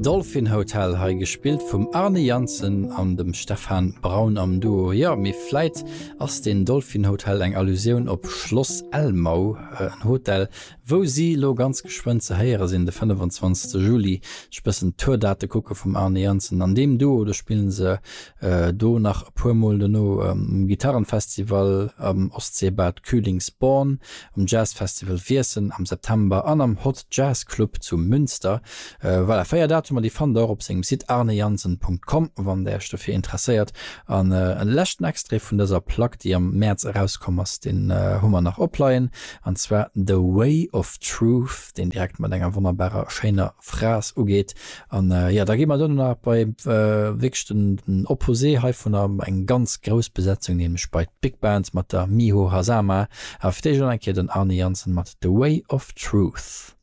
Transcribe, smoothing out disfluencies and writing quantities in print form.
Dolphin Hotel, hei gespillt vum Arne Janssen an dem Stefan Braun am Duo. Jo, mee vläit ass deen Dolphin Hotel eng Allusioun op Schloss Elmau, en Hotel, wou si lo ganz geschwënn ze héiere sinn, de 25. Juli. Ech bëssen d'Tourdate kucke vum Arne Janssen an deem Duo, do spillen se Do nach e puer mol dono um Gitarrenfestival am Ostseebad Kühlungsborn, um Jazzfestival Wiessem am September an am Hot Jazz Club zu Münster. Voilà, 4 Datumer, déi fannt der och op sengem Site arnejansen.com, wann der iech dofir interesséiert. An e leschten Extrait vun dëser Plack, déi am Mäerz erauskomm ass, deen hu mer nach opleien, an zwar The Way of Truth, deen direkt mat enger wonnerbarer schéiner Phrase ugeet. An jo, da gi mer duerno nach bei wierklech den Opposé heivunner, eng ganz grouss Besetzung, nämlech bei d'Big Band mat der Miho Hazama. Awer fir d'éischt elo eng Kéier den Arne Janssen mat The Way of Truth.